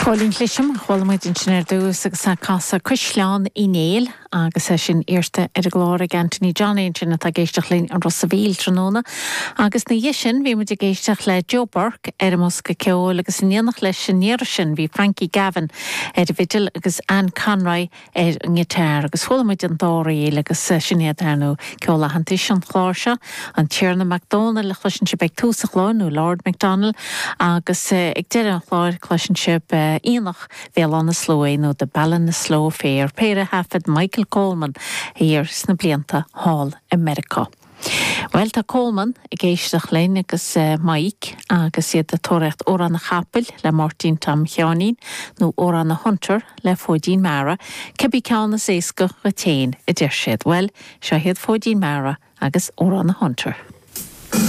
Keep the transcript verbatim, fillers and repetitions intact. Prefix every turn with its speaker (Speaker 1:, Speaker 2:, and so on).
Speaker 1: Cóilín Cliseam chuala muid ansin ar dtús agus ag casadh Caisleán Uí Néill agus é sin iarrta ar an gclár ag Anthony Johnny sin atá ag éisteacht linn an Ros a' Mhíl tráthnóna. Agus ina dhiaidh sin bhí muid ag éisteacht le Joe Burke ar an mbosca ceoil agus in éineacht leis an iarraidh sin bhí Frankie Gavin ar an bhfidil agus Anne Conroy ar an ngiotár agus chuala muid an dá ríl agus sin iad ar nó ceol aitheantais an chláir seo an Tiarna MacDonald le chloiseann sibh ag tús an chláir nó Lord MacDonald agus ag deireadh an chláir cloiseann sibh Aonach Bhéal Átha na Sluaighe nó The Ballinasloe Fair, péire a thaifead Michael Coleman thiar sna blianta thall i Meiriceá. Well tá Coleman ag éisteacht linn agus uh, Mike agus iad ag tóraíocht Amhrán an Chapaill le Máirtín Tom Sheáinín nó Amhrán an Hunter le Fóidín Mara, cibé ceann is éasca go téin a deir siad. Well, seo iad Fóidín Mara agus Amhrán an Hunter.